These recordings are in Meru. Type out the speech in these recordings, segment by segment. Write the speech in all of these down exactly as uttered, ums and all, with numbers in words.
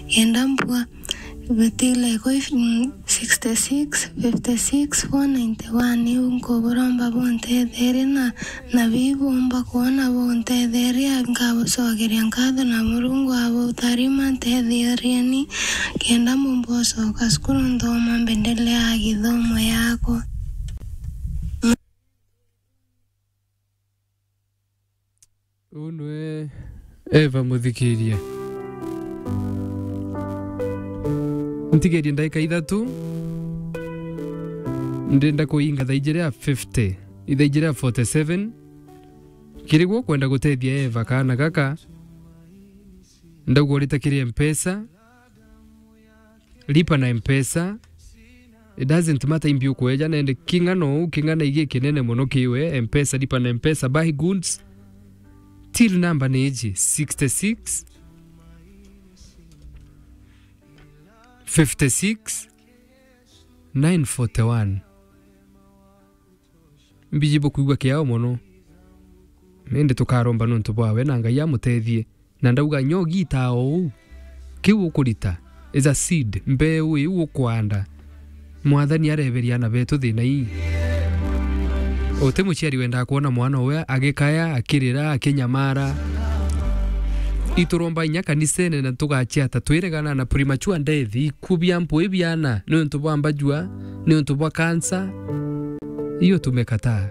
Kenda mbua, betile kwi, mm, sixty six, fifty six, four ninety one, iu nkuburomba buntetherie na, na bibumba kwona buntetherie, nkabucokeria nkatho na Murungu abutharima, ntetheerieni, kenda mbumba ucoka cukuru nthoma mbendeleaa githomo yakwa. Uu nwe Eva muthikirie. Ntigerie ndaika ithatu. Ndenda kuinga thaa ijiri ya fifty. Ithaa ijiri ya forty seven. Kiri gwo kwenda gutethia Eva kaana gaka, ndauga urite kiri Mpesa. Lipa na Mpesa. It doesn't matter imbi ukweja nende king'ana uu, king'ana igi kinene mono kiwe, Mpesa, lipa na Mpesa, buy goods. Till number ni iji, sixty six, fifty six, nine forty one. Mbiji bukwigua kiao mono. Indi tukaromba nontu bwawe na Ngai amutethie. Na ndauga, nyogitaa o uu, kiu ukurita is a seed, mbeu iu ukwanda. Mwathani areberia ana betu thina ii. Uti muciari wendaa kwona mwana uwe agikaya, akirira, akinyamara. Ituromba inya kanisene na tugachiata twiregana na premature death, iku bia mpui biana, niuntu bwa mbajua, niuntu bwa kansa. Hiyo tumekataa.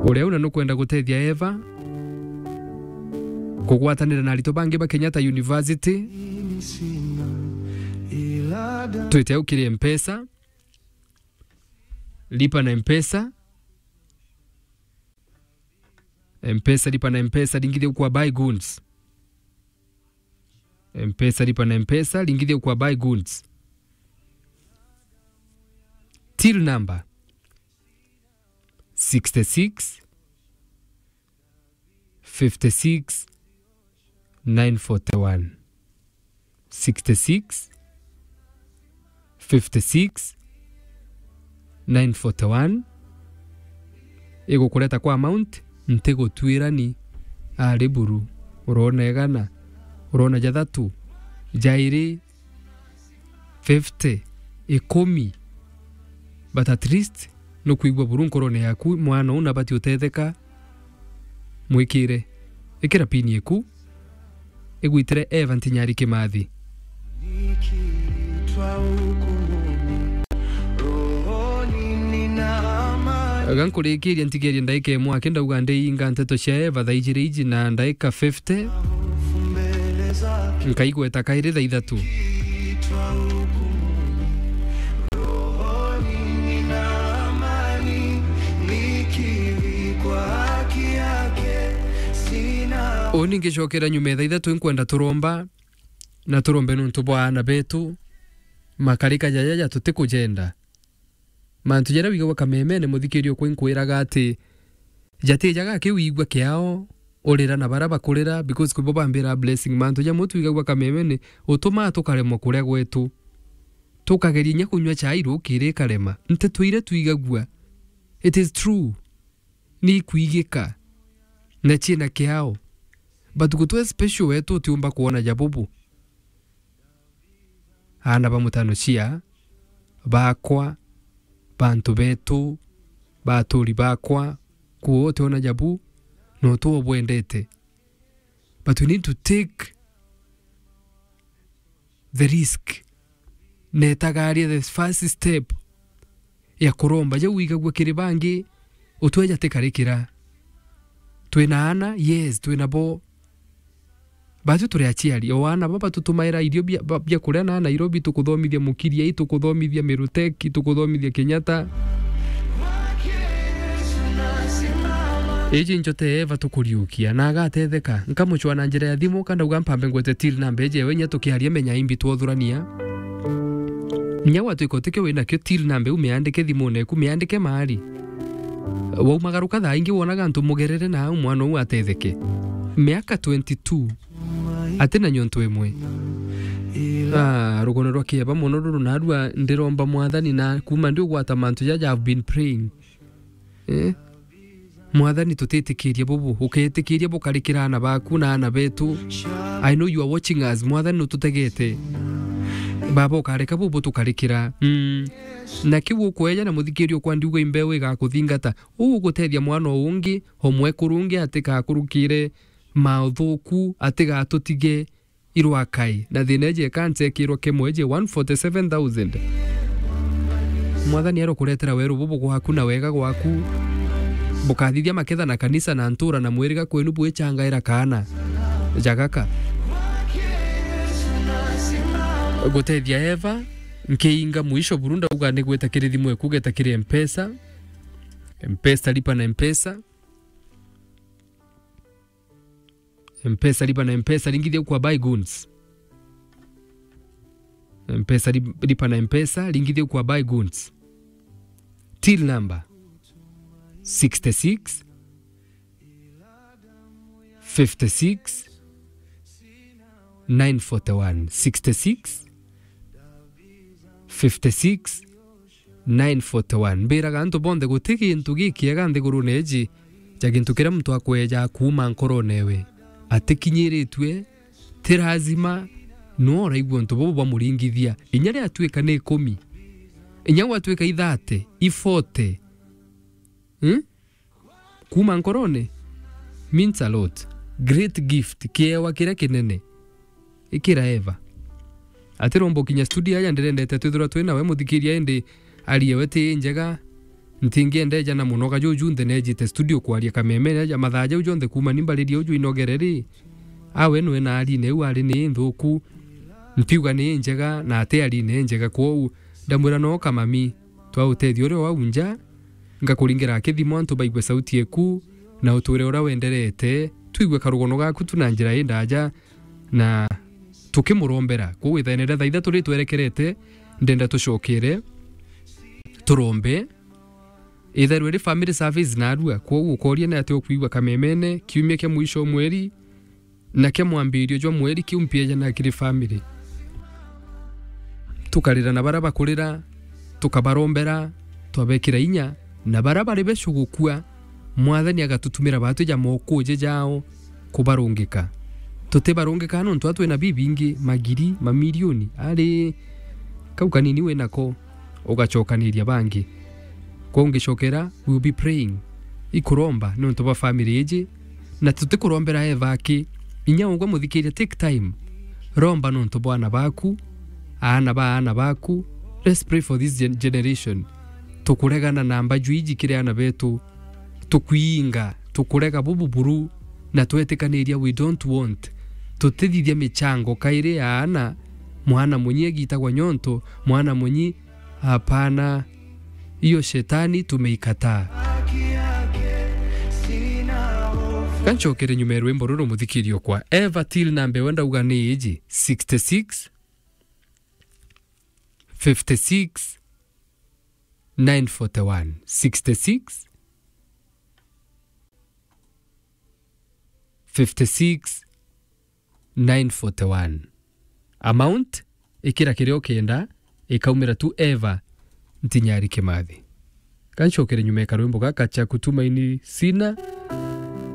Uria una nukwenda gutethia Eva kugwatanira na aritwa bangi ba Kenyatta University, twite au kiri Mpesa, lipa na Mpesa, Mpesa, lipa na Mpesa, ringithia kwa buy goods. Mpesa, lipa na Mpesa, ringithia kwa buy goods. Till number sixty six, fifty six, nine forty one. Sixty six, fifty six, nine forty one. Igukureta kwa amount, ntigutwirani ari buru. Urona igana, urona jathatu, jairi, fifty, ikumi. But at least nukwigua buru nkorone yaku, mwana uu nabati utetheka. Mwikire. Ikira pini iku. Igwitire Eva Ntinyari Kimathi. Ga nkurikiria ntigerie ndaika imwe aki ndauga ndiinga nteto cia Eva thaa ijiri iji na ndaika fifty. Nkaigweta kairi thaa ithatu. Uni ngicokera nyuma ya thaa ithatu, nkwenda turomba, na turombe nuntu bwa aana betu, makarika jajaja tutikujenda. Mantu jaria wigagua kamemene, muthikiria ukwa, inkwiraga ati jatijaga akiwigua kiao, urira na baria bakurira, because kwibo bambira blessing. Mantu jamwe twigagua kamemene, utumaa tukaremwa kuria gwetu. Tukageria inya kunyua chai rukiri ikarema. Nteto iria twigagua, it is true. Ni ikwigika. Na ciina kiao. But gutwe special wetu utiumba kwona jabubu. Aana ba mutano cia, bakwa, bantu betu, baturi bakwa, kuo utiona jabu, no tu ubwendete. But we need to take the risk. Netagaria the first step ya kuromba. Jau wigagua kiri bangi, utweja tikarikira. Twina aana, yes, twina bo. Batu turi aciari. O aana baba tutumaira irio bia, ba, bia kuria na Nairobi, tukuthomithia Mukiria, ii tukuthomithia Miruteki, tukuthomithia Kenyatta. Iji nchote Eva tukuriukia, na agatetheka. Nkamucwa na njira ya thimu, kandauga mpambe ngwete till number eje, we nya tukiaria menya imbi twothurania. Nya gwatuika utikio winakio, till number u miandike thimune eku, miandike maari. Waumagaruka thaa ingi wonaga antu mugerere na au mwana uu atetheke. Miaka twenty two. Ati na nyontu imwe. Ah, rugono rwa kieba mono ruru narua ndiromba Mwathani na kuma ndi ugwata mantu jaja I've been praying. Eh? Mwathani, tutitikiria bubu, uketikiria bukarikira aana baku na aana betu. I know you are watching us. Mwathani, nututegete. Baba, ukareka bubu tukarikira. Mm. Na kiu ukweja na muthikiria ukwa ndiuga imbeu igakuthingata. Uu ugutethia mwana o ungi, o mwekuru ungi atigakurukire mauthuku, atigatutige irwakai. Na thina iji eka nchekirwa kemwe iji one forty seven thousand. Mwathani arokuretera weru bubu gwaku na wega gwaku. Bukathithia maketha na kanisa na ntura na mwiriga kwenu bwichangaira kaana jagaka. Gutethia Eva, nkiinga mwisho buru ndauga ni gweta kiri thimu eku, geta kiri Mpesa. Mpesa, lipa na Mpesa. Mpesa, lipa na Mpesa, ringithia kwa buy goods. Mpesa, li-, lipa na Mpesa, ringithia kwa buy goods. Till number sixty-six, fifty-six, nine forty-one. Sixty-six, fifty-six, nine forty-one. Mbiraga antu bonthe, guti gintu gikiega nthigurune iji ja gintu kiria muntu akweja kuuma nkoronewe, atikinyiritue, ti lazima, no uraigua untu bubu bwamuringithia. Inya ria atuika ni ikumi, inya gwatuika i thirty, i forty, hmm? Kuuma nkorone means a lot. Great gift, kiewa kiria kinene. Ikira Eva. Atiromba ukinya studio aja, ndirendete twithirwa twi nawe muthikiria, indi arie we ti njega. Ntingienda ejana muno ga juju nthe nejite studio kwaria kameme aja mathaa jau jonthe kuuma ni mbaririe uju inogere ri. Awe nwe na arine u ari ni nthuku. Ntiuga ni njega na ati arine njega, kwou ndamwira no kamami. Twa utethio uria wau nja, ngakuringira kithimo antu baigue sauti eku, na uture uria wenderete, twigue karugono gaku tu na njira indaja, na tukimurombera. Kwou ithaene ria thaa ithatu ritwerekerete, ndenda tucokere, turombe. Ithairwe ri family service narua, kwou ukoria ni atia ukwigua kamemene, kiumia kia mwisho o mweri, na kia mwambirio jwa mweri kiu mpieja na kiri family. Tukarira na baria bakurira, tukabarombera, twabekira inya, na baria bari becu gukua, Mwathani agatutumira baatwi ja mokuje jao kubarungika. Tutibarungika nontu atwi na bibingi, magiri, mamilioni, ari kau kanini wi nako, ugacokaniria bangi. Kwou ngicokera, we will be praying. Ikuromba nontu bwa family iji, na tutikurombera Eva aki. Inya ugwe muthikiria, take time. Romba nontu bwa aana baku, aana ba aana baku. Let's pray for this gen-, generation. Tukuregana na mbaju iji kiri aana betu. Tukwiinga, tukurega bubu buru, na twetikaniria we don't want. Tutithithia michango kairi ya aana, mwana munyi egitagwa nyonto, mwana munyi, hapana. Hiyo shetani tumeikataa. Kanchokere nyuma ya rwimbo ruru muthikirio kwa Eva Till na mbewe ndauga ni iji, sixty-six, fifty-six, nine forty-one. Sixty-six, fifty-six, nine forty-one. Amount, ikira kiria ukenda, ikaumira tu Eva Ntinyari Kimathi. Kanchokere nyuma ya karwimbo gaka cha Kutumaini Sina.